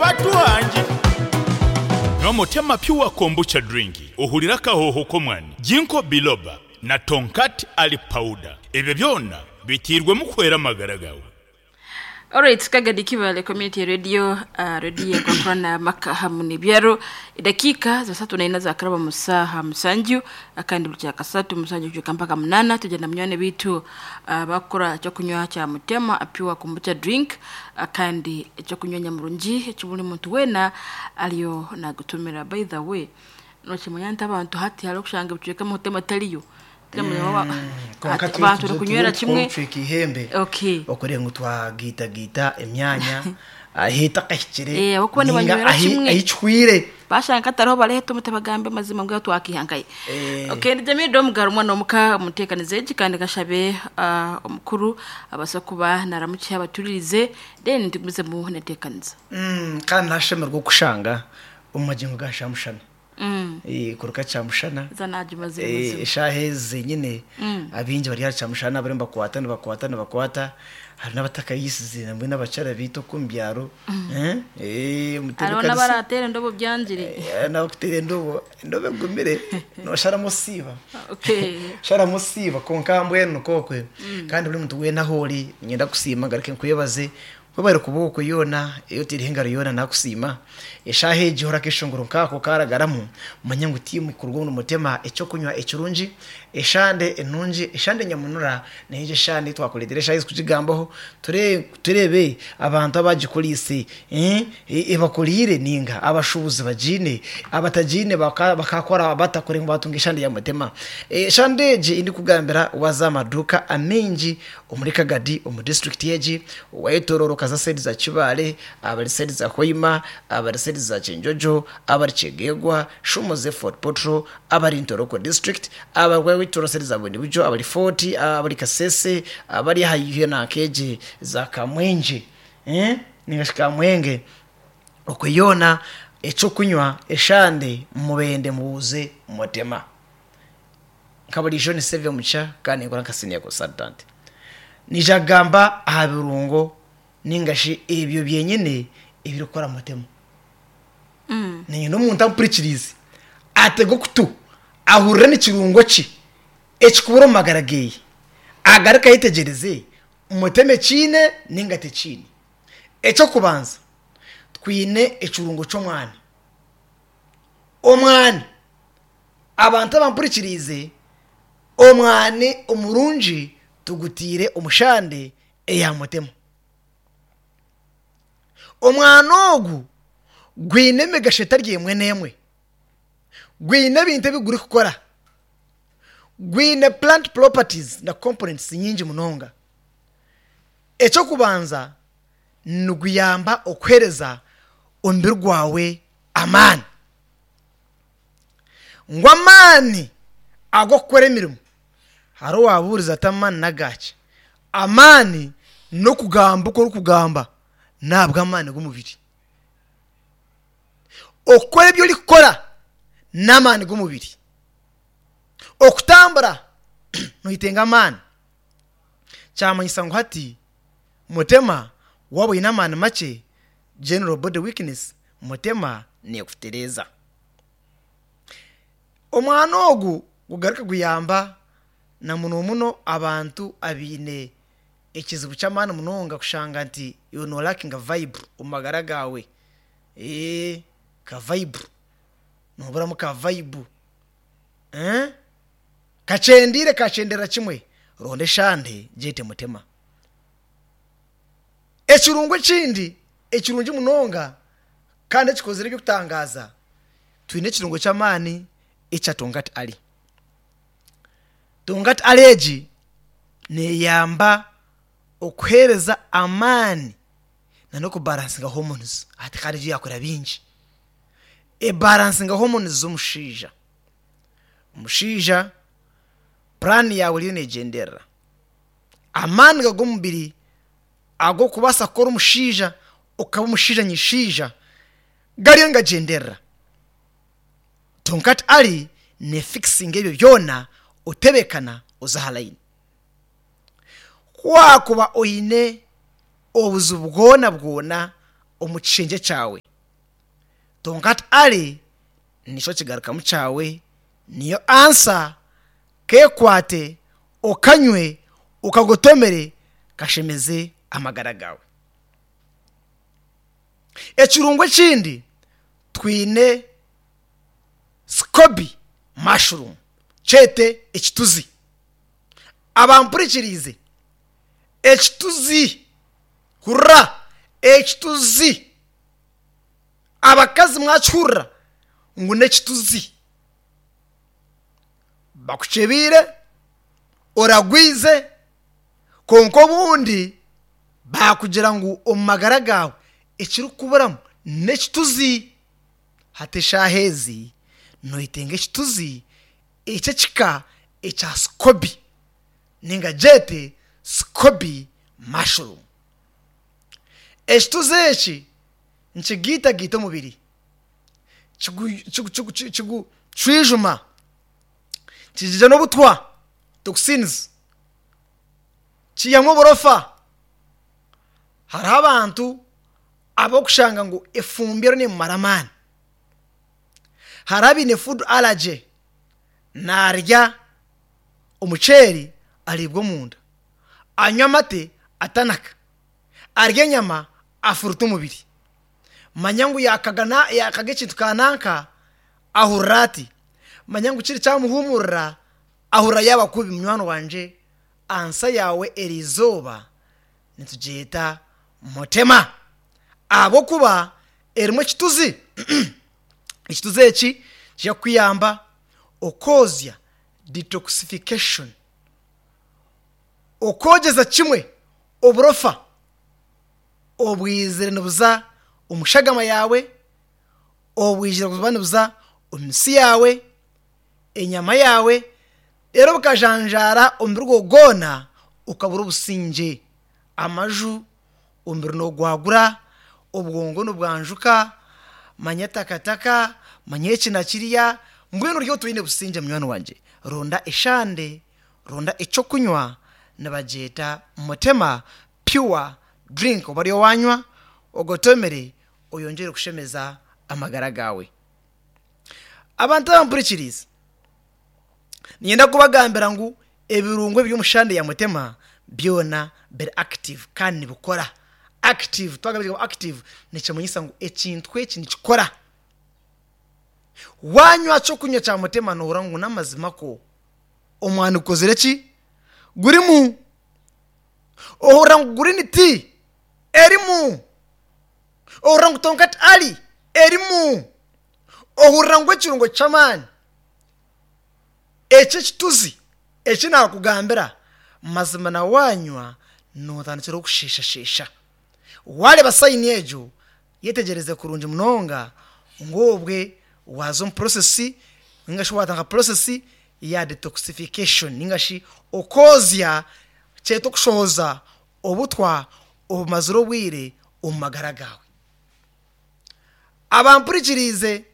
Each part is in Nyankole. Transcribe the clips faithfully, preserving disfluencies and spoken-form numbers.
Batuhangi. N'omutema Pure Kombucha Drink ohurira akahoho k'omwani, Ginkgo Biloba na Tongkat Ali Powder. Ebyo byona bitiirwemu kuhwera amagara gaawe. Alright, Kagadi Kibale Community Radio, uh, radio ekwakurana maka hamu n'ebyaro. Edakiika za satu naina zakaraba mu saaha musanju, akandi buli kyakasatu musanju kujuka mpaka munana tugenda munywani bitu uh, bakukora ekyokunywa kya Mutema Pure Kombucha Drink, akandi ekyokunywa nyamurungi ekibuli muntu weena ariyo nagutumira. By the way, nokimanya nti abantu hati hariho kushanga ebicweka Mutema tariyo. Konka Ati abantu barikunywera kimwe. Tucweka ihembe Okay. okureba ngu twagitagita emyanya ahitakahikire. Eh, ahabw'okuba nibanywera kimwe. Ahicwire. Bashanga katariho bareheta omuti bagambe amazima ngu twakihangaye. Eh. Okay, ndi Jamil Domugaro omwana omuka omuteekanize egi kandi kashabe uh, omukuru abasa kuba naramukiha abaturirize, then tugumizemu neteekaniza. Mm, kandi nashemerwa okushanga omu magingo ga Shamushana. Mm. Eh, kuruka Kyamushana. Zanagimaze. Eh, mazima. Eshaaha ezi zenyine abingi bari aha Kyamushana barimu bakwata nibakwata nibakwata, hari n'abatakayisize nambwe n'abakyara biitu oku omu byaro. Eh, eh, Hariho omutebeekanisa- n'abarateera endobo byangire. Eh, n'abakutera endobo, endobo egumire nosharamu osiiba. Okay. Sharamu osiiba, konka mbwenu nikokwe. Kandi buri muntu weena ahu ori niinyenda kusiima, ngaruke nkwebaze webare kuba okwe yoona eyi oteireho engaro yoona nakusiima. Eshaaha egi hora akeshongoro nkaako karagaramu, manya ngu tiimu kuruga omu Mutema, ekyokunywa ekirungi, eshande enungi, eshande nyamunura, neija eshande ei twakureetera eshaaha ezi kugigambaho, ture- tureebe abantu abagikoriise, eh, e- ebakoriire ninga abashuubuzi bagiine, abatagiine baka- bakakora batakore ngu batunga eshande ya Mutema. Eshande egi endikugambira, waza aha maduuka amaingi omuri Kagadi omu district egi, wayetorora okaza side za Kibaale, abari side za Hoima, abari side za Kyenjojo, abari Kyegegwa, Shumuze, Fort Portal, abari Ntoroko district, abari side za Bundibugyo, abari Fort, abari Kasese, abari haihi nakeegi za Kamwengye, eh? Ningashi Kamwenge okwe yoona, ekyokunywa eshande mubende mubuuze Mutema. Nka buriijo ni Save Mucha kandi nkora nka senior consultant. Nija kugamba aha birungo ningashi ebyo byenyine ebirikukora Mutema. Mm. Niinyenda omuntu ampurikirize atege okutu ahurire n'ekirungo ki ekikubura omu magara geeye, agaruke ayetegyereze Mutema ekiine ninga tekiine. Ekyokubanza, twine ekirungo ky'omwani. Omwani, abantu abampurikiriize, omwani omurungi tugutiire omushande eya Mutema. Omwani ogu gwine emigasho etari emwe n'emwe, gwine ebintu ebi gurikukora, gwine plant properties na components nyingi munonga. Ekyokubanza, niguyamba okuheereza omubiri gwawe amaani, ngu amaani ag'okukora emirimo. Hariho owabuurize ati amaani nagaki? Amaani n'okugamba oku orikugamba nahabw'amaani g'omubiri. Okukora ebi orikukora n'amaani g'omubiri. Okutambura noyetenga amaani. Kyamanyisa ngu hati Mutema waaba oine amaani makye, general body weakness, Mutema neekutereeza. Omwani ogu gugaruke guyamba na muno muno abantu abaine ekizibu ky'amaani munonga, kushanga nti iwe norakinga vibe omu magara gaawe. Ee, ka vibe nooburamu ka vibe, eh? Kakyendeire, kakyendera kimwe, ronda eshande gyete Mutema. Ekirungo ekindi ekirungi munonga kandi ekikozire eby'okutangaaza, twine ekirungo ky'amaani ekya Tongkat Ali. Tongkat Ali egi neeyamba okuheereza amaani na n'okubalansinga hormones. Hati kandi egyo yakora bingi, ebalansinga hormones z'omushaija. Omushaija puraani yaawe eriyo neegyenderera, amaani g'omubiri ag'okubaasa kukora omushaija okaba omushaija nyishaija gariyo nigagyenderera. Tongkat Ali nefikisinga ebyo byona, otebeekana oza aha layini. Ku waakuba oine obuzibu bwona bwona omu kishengye kyawe. Tonkat Ali nikyo kigarukamu kyawe, niyo ansa kekwate okanywe okagotomere kashemeze amagara gawe. Ekirungo ekindi twine scoby mushroom kyete ekituzi. Abampurikirize ekituzi, hurra ekituzi, abakazi mwakihurra ngu n'ekituzi, bakukyebire oragwize, konka obundi bakugira ngu omu magara gawe ekirikuburamu n'ekituzi. Hati eshaaha ezi noyetenga ekituzi eky'ekika ekya scoby ninga gyete scoby mushroom. Ekituzi eki nikigiitagaita omubiri, kigucwijuma, kijija n'obutwa toxins, kiihamu oburofa. Hariho abantu abokushanga ngu efumbi eriyo nemumara amaani, hariho abaine food allergy, narya omuceeri ariibwa omunda, anywa amate atanaka, arya enyama afuruta omubiri. Manya ngu yakagana yakaga ekintu kananka ahurira ati, manya ngu kiri kyamuhumurira ahurira yaaba kubi. Munywani wangye, ansa yawe eri izooba nitugyeta mutema ahabw'okuba erimu ekituzi. Ekituzi eki kijya kukuyamba okwozya detoxification, okwogyeza kimwe oburofa obwizire nibuza omu shagama yawe, obwizire buba nibuza omu misi yawe, enyama yawe, reero bukajanjaara omubiri gwawe gwona ukabura obusingye, amaju omubiri nogwagura, obwongo nibwanjuka, manya takataka, manya eki na kiriya, mbwenu ori otwine busingye. Munywani wangye, ronda eshande, ronda ekyokunywa nibagyeta mutema pure drink, oba ariyo wanywa ogotomere oyongyere kushemeza amagara gawe. Abantu abampurikirize, niinyenda kubagambira ngu ebirungo ebiri omu shande ya mutema byona biri active kandi nibikora. Active, twagamba ekigambo active nikimanyisa ngu ekintu eki nikikora. Wanywa ekyokunywa kya mutema nohurira ngu n'amazima ko omwani gukozire ki gurimu, ohurira ngu green tea erimu, ohurira ngu tonkat ali erimu, ohurira ngu ekirungo ky'amaani eki ekituzi eki nakugambira mazima na wanywa notandikira okusheshashesha. Wareba sayini egyo yetegyereze kurungi munonga ngu obwe waza omu process ningashi watandika process ya detoxification ningashi okwozya kyeta okushohoza obutwa obumazire obwire omu magara gawe. Abampurikiriize,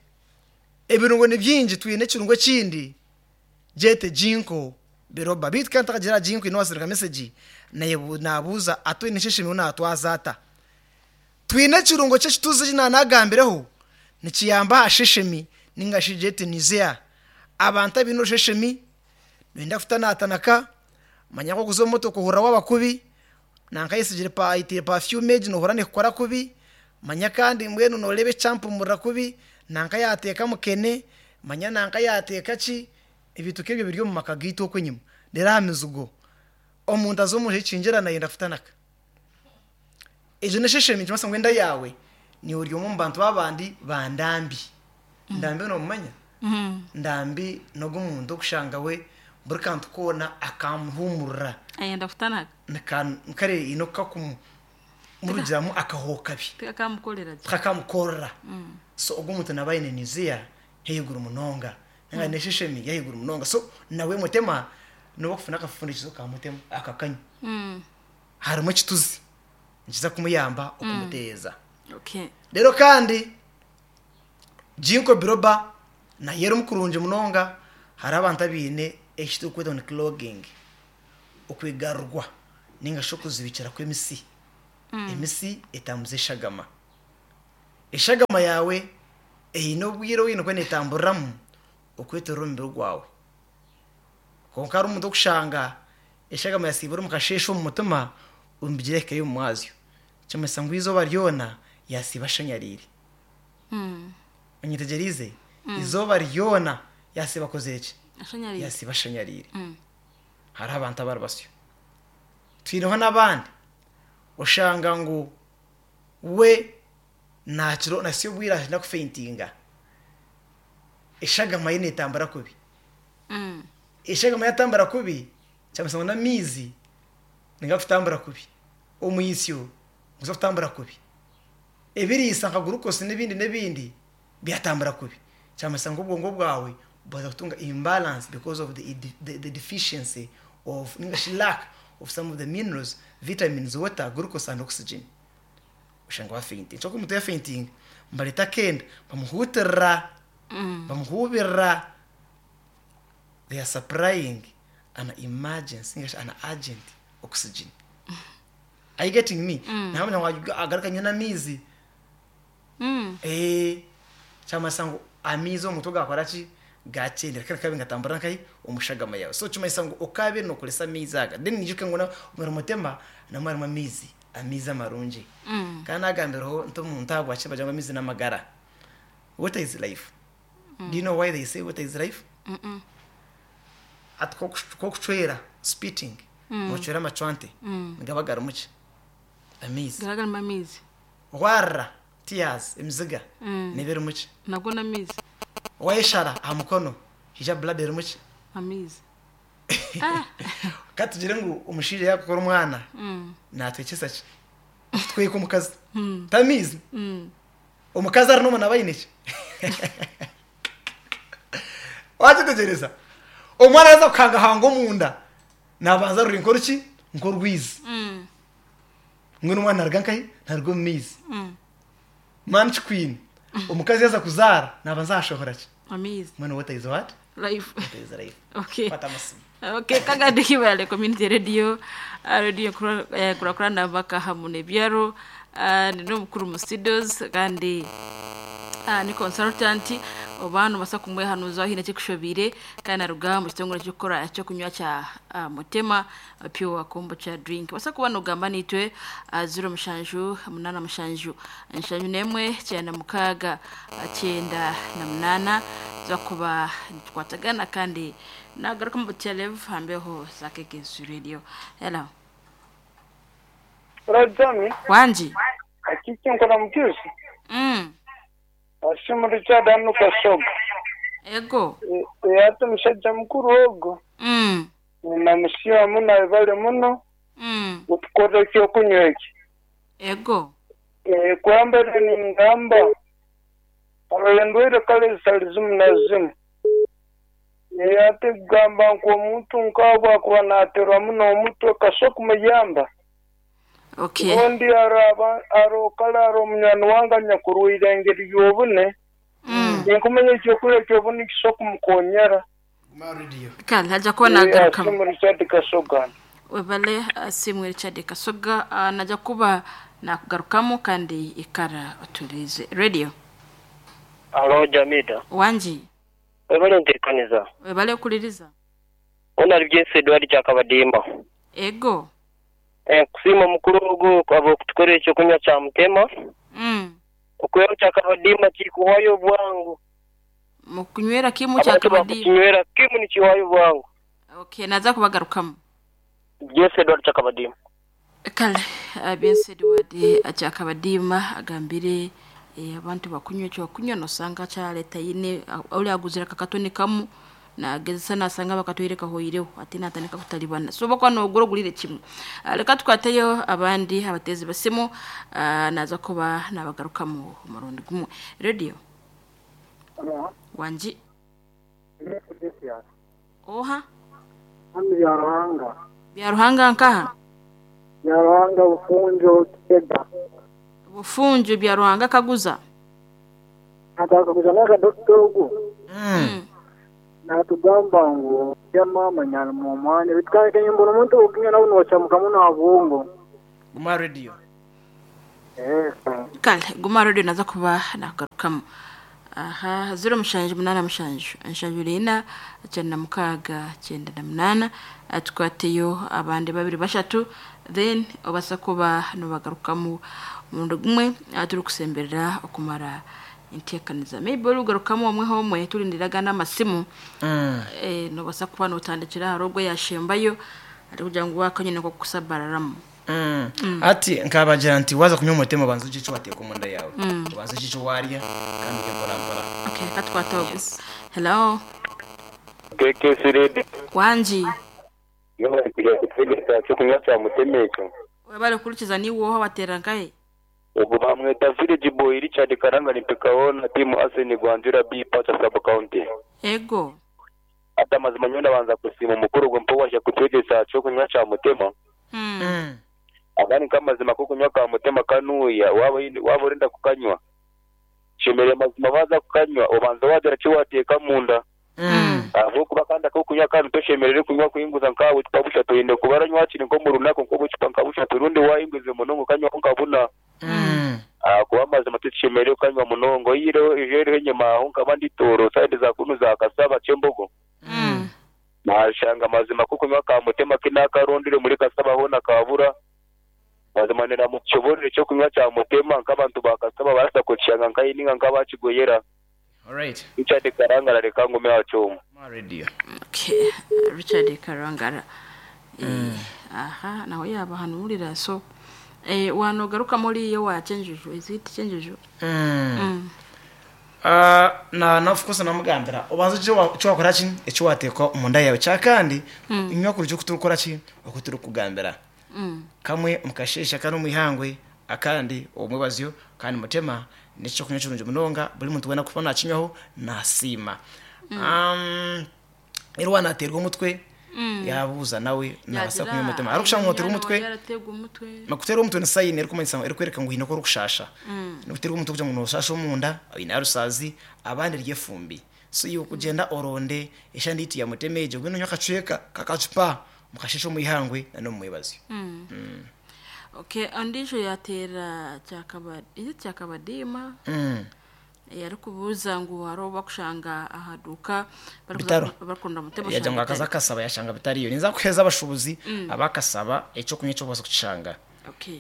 ebirungo ni bingi, twine ekirungo ekindi gyete ginkgo biloba. Beitu kandi ntakagira aha ginkgo, nowasindika message nabuuza ati oine natwaza ata. Twine ekirungo ky'ekituzi eki nanagambireho nikiyamba aha sheshemi ningashi gyete nausea. Abantu abaine orusheshemi noyenda kutanatanaka, manya nkokuza omu motoka ohurira waaba kubi, nanka ayesigire ayitiire perfume egi nohurira nekukora kubi, manya kandi mbwenu noreeba ekyampumurira kubi, nanka yateeka mukene, manya nanka yateeka ki, ebintu nk'ebyo biri omu maka gaitu okwo enyima. Reero aha mizigo omuntu aza omu ekingira nayenda kutanaka. Egyo n'esheshemi nikimanyisa ngu enda yaawe niiwe ori omwe omu bantu babandi ba ndambi. Ndambi nomumanya? Ndambi n'ogu omuntu okushanga we buri kantu koona akamuhumurira. Ayenda kutanaka. Kare haine okukakumurugiramu akahoho kabi. Tikakamukorera gye. Tikakamukorera. So ogwo omuntu naaba aine nausea y'ahaiguru munonga ninga n'esheshemi y'ahaiguru munonga. So nawe mutema noba okufuna akafundikizo ka mutema akakanywa. Harimu ekituzi nikiza kumuyamba okumuteeza. Okay. Reero kandi ginkgo biloba nayo erimu kurungi munonga. Hariho abantu abaine eki turikweta ngu ni clogging, okwigarurwa ningashi okuzibikira kw'emisi. Emisi etambuza eshagama, eshagama yaawe Eine obwire oine kuba neetamburiramu okwetorora omubiri gwawe. Kwonka hariho omuntu okushanga eshagama yasiibura omu kasheeshe omu mutima, omubiri ehikayo omu mwazyo. Kimanyisa ngu eizooba ryona yasiiba ashanyariire. Mm. Onyetegyereize? Eizooba ryona yasiiba akozire ki? Ashanyariire. Yasiiba ashanyariire. Mm. Hariho abantu abari basyo. Twineho n'abandi oshanga ngu we nakiro nasiyo obwire arenda kufeintinga. Eshagama ye neetambura kubi. Mm. Eshagama yatambura kubi, kyamanyisa ngu n'amaizi nigakutambura kubi. Omwisyo guza kutambura kubi. Ebiriisa nka glucose n'ebindi n'ebindi byatambura kubi. Kyamanyisa ngu obwongo bwawe bwaza kutunga imbalance because of the, the, the deficiency of ningashi lack of some of the minerals, vitamins, water, glucose and oxygen. Oshanga wafeinting. Kyonka omuntu yafeinting, mbareta akenda, bamuhuutirira, Mm. bamuhuubirira. They are supplying an emergency, ningashi an urgent oxygen. Are you getting me? Mm. Nahamanya ngu agaruka anywe n'amaizi. Mm. Eh, kyamanyisa ngu amaizi omu mutwe gakora ki? Gakyendera kandi kabe ngatambura nkahi omushagama yawe. So kimanyisa ngu okabe nokoresa amaizi aga. Then niijuke ngu na omuri mutima namwo harimu amaizi, amaizi amarungi. Mm. Kandi nagambiraho nti omuntu ahabwaki bagira ngu amaizi n'amagara. Water is life. Do you know why they say water is life? Mm-mm. Ati kokucwera spitting, Mm. nocwera amacwante, Mm. nigaba garimu ki? Amaizi. Garagarimu amaizi. Warira tears, emiziga, Mm. neba erimu ki? Nago n'amaizi. Wayeshara aha mukono, hija blood erimu ki? Amaizi. Ah. Ka tugire ngu omushaija yakukora omwana, Mm. natwekyesa ki? Tweka omukazi. Mm. Tamiizi. Mm. Omukazi ari n'omwana aine ki? Wakitegereza? Omwana araza kukangahanga omunda, nabanza ruri nk'oruki? Nk'orwizi. Mm. Mbwenu omwana naruga nkahi? Naruga omu maizi. Mm. Manchi queen. Omukazi yaza kuzaara, nabanza ashohora ki? Amaizi. Mbwenu water is what? Life. Water is life. Okay. Kwata amasimu. Okay, kagandi kibale community radio, uh, radio kurakurana baka hamu nebyaro, uh, ni n'omukuru mu studios kandi uh, ni consultant oba nobasa kumwehanuza hine kikushobire kandi aruga mu kitongole ky'okukora ekyokunywa kya uh, mutema uh, pure kombucha drink. Basa kuba nogamba nitwe uh, zero mushanju munana mushanju nshanju nemwe kyenda mukaaga uh, kyenda na munana za kuba nitukwatagana kandi nagaruka mu butelev hambeho za Kekesu Radio. Hello. Rajami, Wanji. akiki nkora mukizi. Mm. Asimu Richard hano Kasoga. Ego. Ate musajja mukuru ogwo. Mm. Ninamusiima muno abale muno Mm. kutukora ekyokunywa eki. Ego. Eh, Kwambere ningamba aro endwaire kale zitali zimu na zimu. Eh, Ate kugamba ngu omuntu nk'abwo akuba naaterwa muno omutwe kaso kumuyamba. Okay. Ondi aro aba- aro kale aro omunywani wange anyakurwaire engeri y'obune. Mm. Ninkumanya ekyokurya ky'obune kiso kumukonyera. Guma radio. Kale haja kuba nagaruka. Asimu Richard Kasoga. Webale asimu Richard Kasoga uh, naja kuba nakugarukamu kandi ikara otulize. Radio. Alo Jamida. Wanji. Webale ntirikaniza. Webale okuliriza. Ona ali byese Edward Kyakabadimba. Ego. Eh, kusiima mukuru ogu abo kutukora ekyokunywa kya mutema. Mm. Okunywa kyakabadimba kikuwayo obwangu. Mukunywera kimu Abantu kyakabadimba. bakukinywera kimu nikiwayo obwangu. Okay, naza kubagarukamu. Byese Edward Kyakabadimba. Kale uh, Byensi Edward Kyakabadimba agambire eh, abantu bakunywa ekyokunywa nosanga kyaleta yine uli aguzira kakatoni kamu nagezesa nasanga bakatwire kahoireho ate natandika kutalibana so bakwa nogura ogulire kimwe. Ah, reka tukwateyo abandi abatezi basimu uh, naza kuba nabagarukamu umurundi gumwe. Radio. Wanji. Oha. Hano Byaruhanga. Byaruhanga nkaha? Byaruhanga Bufunjo Kitega. Bufunjo Byaruhanga kaguza. Nataka n'akadokita ogu. Mm. Natugamba ngu ya mama nyali mu mwanya bitwake mbona omuntu okunywa nawe nocamuka muno abwongo. Guma radio. Eh. Kale guma radio naza kuba nagarukamu. Aha, ziro mushanju munana mushanju nshanju rina cyenda na mukaga cyenda na munana. Tukwateyo abandi babiri bashatu, then obasa kuba nobagarukamu omurundi gumwe turi kusemberera okumara enteekaniza. Maybe orugarukamu omwe homwe turindiraga n'amasimu. Mm. Eh, nobasa kuba notandikira hari ogwo yashembayo ari kugira ngu wakanyine ko kusabararamu. Mm. Ati nkabagira nti waza kunywa umutima, ubanza ugire icyo wateka mu nda yawe, ubanza ugire icyo warya kandi ujye mbora mbora. Okay, katwata ogwo. Hello. K K C Radio. Wanji. Iyo bari kujya kutegeka cyo kunywa cya mutema ekyo. Wabale kurikiza ni woho batera nkahe? Ubwo bamweta Village Boy Richard Karanga Nipekaona timu Arsene Gwanjura B Pacha Sub County. Ego. Ati amazima nyowe ndabanza kusima umukuru gwe mpo waje kutegesa cyo kunywa cya mutema. Mm. Mm. Agani nk'amazima ko kunywa ka mutema kanuya waba waba urenda kukanywa. Shemereye amazima baza kukanywa ubanza wagira cyo wateka mu nda. Mm. Aho kuba kandi ako kunywa kandi toshemerere kunywa kuhinguza nkawe bucupa bushatu yende kubaranywa hakiri nko mu runaka nko bucupa nka bushatu rundi wahinguze munongo ukanywa nkabuna. Mm. Ah, kuba amazima tutishemerere kukanywa munongo yireho ijereho enyuma aho nkaba nditoro side za kunu za Kasaba Kyembogo. Mm. Nashanga amazima ko kunywa ka mutema kinakarondire muri Kasaba ho nakabura mazima nera mu kiborere cyo kunywa cya mutema nk'abantu ba Kasaba barasa kuciyanga nkayininga nkabakigoyera. Alright. Richard Karangara reka ngume wacyuma. Ma radio. Okay, Richard Karangara. Eh, aha, naho yaba hanurira so eh wanogaruka muri iyo wachenjuju, is it chenjuju? Mm. Mm. Ah, na na of course namugambira ubanza icyo wa- icyo wakora ki, icyo wateka mu nda yawe cya kandi inywa kuri cyo kuturukora ki uko turi kugambira. Mm. Kamwe mukashesha kano mwihangwe akandi omwebazyo kandi mutema nicyo kunywa kirungi munonga buri muntu wena kuba nakinywaho nasima. um, rero wanaterwa umutwe yabuza nawe nabasa kunywa umutima ari gushaka umutera umutwe. Yarategwa umutwe. Makutera umutwe ni sayini eri kumanyisa eri kwereka ngo hino ko rukushasha nokutera umutwe kugira ngo nushasha omunda ina rusazi abandi ryefumbi. So iyo kugenda oronde eshandi itu ya mutemeje gwino nyakacweka kakacupa mukashesha omwihangwe na no mwebazi. Okay, andisho yatera cyakaba, is it cyakabadima? Mm. Yari kubuza ngo haro bakushanga ahaduka Bitaro. Bakunda mutema. Yaja ngo akaza akasaba yashanga bitariyo ninza kuheza abashubuzi abakasaba ecyo kunywa cyo bose kucishanga. Okay,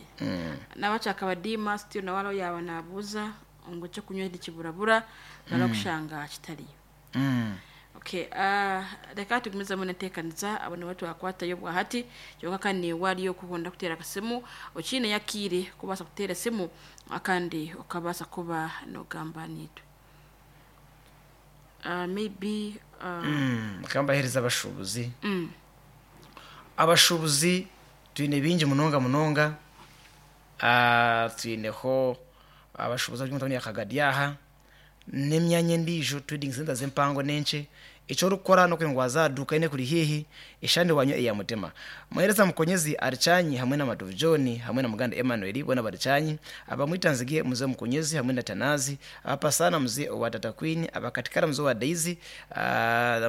n'abacakabadima still nawe aro yaba nabuza ngo cyo kunywa ntikiburabura barakushanga kitariyo. Mm. Okay, uh, reka tugumize munetekaniza abona watu akwatayo bwahati kyonka kandi waliyo kuhonda kutera akasimu okine yakire kubasa kutera esimu akandi okabasa kuba nogamba nitwe uh, maybe uh, Mm. Kambahereza abashubuzi. Mm, Abashubuzi twine bingi munonga munonga. Ah, twineho abashubuzi by'umutoni yakagadyaha n'emyanya endiijo trading center z'empango n'enche icyo orikukora n'okugira ngu wazaduka ine kuri hihi eshandi wanyu eya mutema. Muhereza Mukonyezi aricanyi hamwe na Matovu John hamwe na Muganda Emmanuel bona baricanyi abamwitanzige muze Mukonyezi hamwe na Tanazi abapasana muze wa Tata Queen abakatikara muze wa Daisy, uh,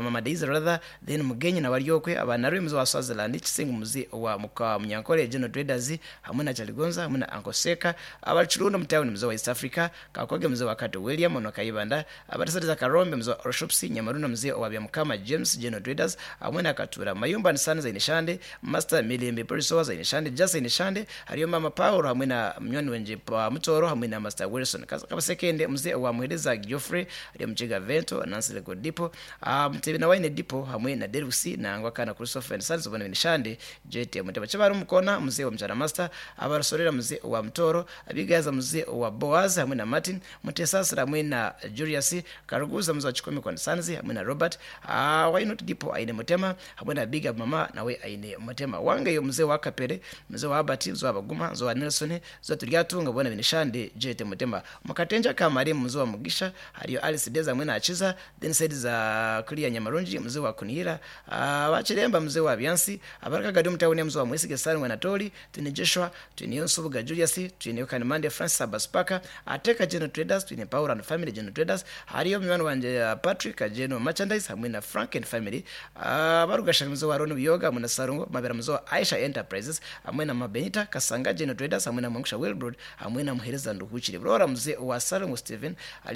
mama Daisy rather, then Mugenyi na Baryokwe abanarwe muze wa Swaziland Kisingu muze wa muka Munyankole General Traders hamwe na Chaligonza hamwe na Uncle Seka abachirundo mutawuni muze wa East Africa Kakoge muze wa Kato William ono Kayibanda abatasatiza Karombe muze wa Orshops Nyamaruna muze wa Byamukama James General Traders hamwe na Katura Mayumba Nisani za Inishande Master Milembe Polisowa za Inishande Jasa Inishande hariyo Mama Paul hamwe na mnywani wenje pa Mutoro hamwe na Master Wilson Kas- Kabasekende mzee wa Muhereza Geoffrey hariyo Mchega Vento Nancy Lego Dipo uh, Mtebe na Wine Dipo hamwe na Derusi na Ngwakana Christopher and Sons ubona Inishande J T Muteba Chabari Mukona mzee wa Mchana Master abarusorera mzee wa Mtoro abigaza mzee wa Boaz hamwe na Martin Mutesasira hamwe na Julius Karuguza mzee wa Chikome kwa Sanzi hamwe na Robert uh, Why Not Dipo aine Mutema hamwe na Big Up Mama nawe aine Mutema wange yo mzee wa Kapere mzee wa Abati mzee wa Baguma mzee wa Nelson mzee wa Turyatunga bona Binishande J T Mutema Mukatenja Kamari mzee wa Mugisha hariyo Alice Deza hamwe na Achiza then said za Kulia Nyamarunji mzee wa Kunihira uh, Bachiremba mzee wa Byansi abaraka Gadi mtawuni mzee wa Mwisige Sani Natoli twine Joshua twine Nsubuga Julius twine Kanimande Francis Abaspaka Ateka General Traders twine Power and Family General Traders hariyo mwana wanje uh, Patrick General Merchandise hamwe na Frank and Family uh, barugasha mzee wa Ron Biyoga hamwe na Sarungo Mabera mzee wa Aisha Enterprises hamwe na Mabenita Kasanga General Traders hamwe na Mwangisha Wilbrod hamwe na Muhereza Nduhukire Burora mzee wa Sarungo Steven.